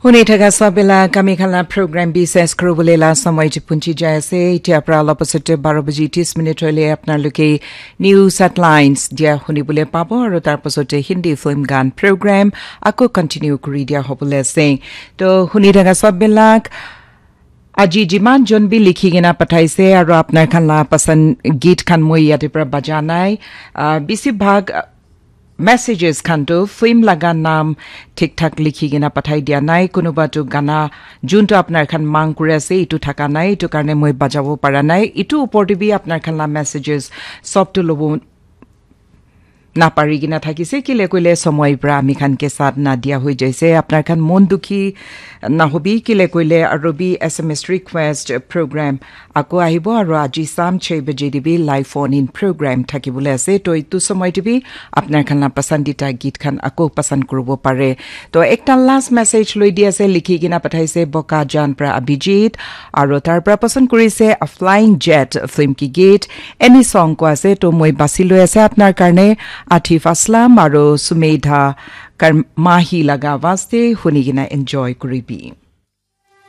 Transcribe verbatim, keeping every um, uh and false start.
Huni thaka sabela kami khan la program bi ses kuribole la samay ji punchi jai ase. Itia pra la pasate baro baji tis minute hoile apna loke news headlines dia huni bole pabo aru tar pasate Hindi film gan program ako continue kuri dia hobole ase. To huni thaka sabela aji jiman jon bi likhi kena pathaise aru apnar khan la pasan git khan moi yate pra baja nai. Ah, bisi bhag, ah, messages khan tu film laga naam thik thak likhi kena pathai dia nai. Kunuba tu gana juntu apnar khan mang kuri ase, itu thaka nai, itu karne moi bajabo para nai. Itu upor te bi apnar khan la messages sob tu lobo napari kena thakise, kile koile somoi pra ami khan ke saath na dia hoi jaise. Apnar khan mon dukhi na hobi, kile koile aru bi S M S request program ako ahibo aru aji sam chhe baje de bi live phone in program thakibole ase. To itu somoi te bi apnar khan la pasandita git khan ako pasand kuribo pare. To ekta last message loi di ase, likhi kena pathaise Bokajan pra Abhijit, aru tar pra pasand kurise A Flying Jet film ki git, Any Song ko ase. To moi basi loi ase apnar karne Atif Aslam aru Sumedha Karmahi laga awaaz te huni kena enjoy kuribi.